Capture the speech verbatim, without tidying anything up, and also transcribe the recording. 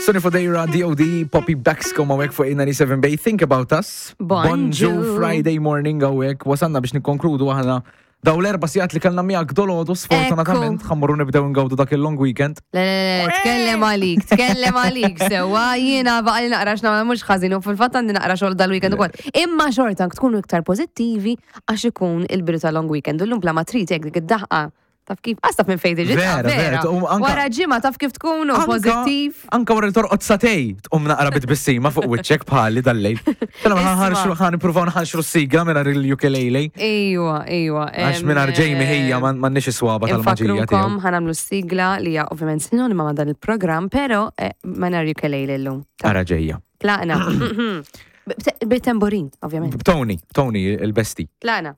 Sonny Fodera, D O D. Poppy Baxco ma' fuq eight ninety-seven Bay. Think About Us. Bonġu. Friday morning għawek. Wasanna biex nikkonkludu aħna daw l-erba' sigħat li kellna miegħek dolodu, sfortunatament Ekku. Ħa mmorru nibdew ngawdu dak il-long weekend. Le, le, le, tkellem għalik, tkellem għalik, sewa, jiena baqali naqra x'nagħmel mhux ħażin u fil-fatt għandi naqra xogħol dal-weekend ukoll. Imma xorta tkunu iktar pożittivi għax ikun il-bidu tal-long weekend. U llum bla ma trid hekk dik id-daħqa. Taf kif? Għax taf minn fejn tiġi. Vera, vera, u anka- Wara ġimgħa taf kif tkunu Anka- pożittiv. Anka wara li torqod sagħtejn, tqum naqra bit-tbissima fuq wiċċek bħali dal-lejl. Tela ma ħanħarxu, ħa nippruvaw nħanxru s-sigla minn il-ukulele. Ejwa, ejwa. Għax minn Jamie ħija m'għandniex is-swaba tal-maġija Infakrukom tiegħu. Ħa nagħmlu s-sigla li hija ovvjament sinonima ma' dan il-programm, pero eh, ma nar ukulele llum. Ara ġejja. Tlaqna. Bit-tamborin, ovvjament. Tony, Tony il-besti. Tlaqna.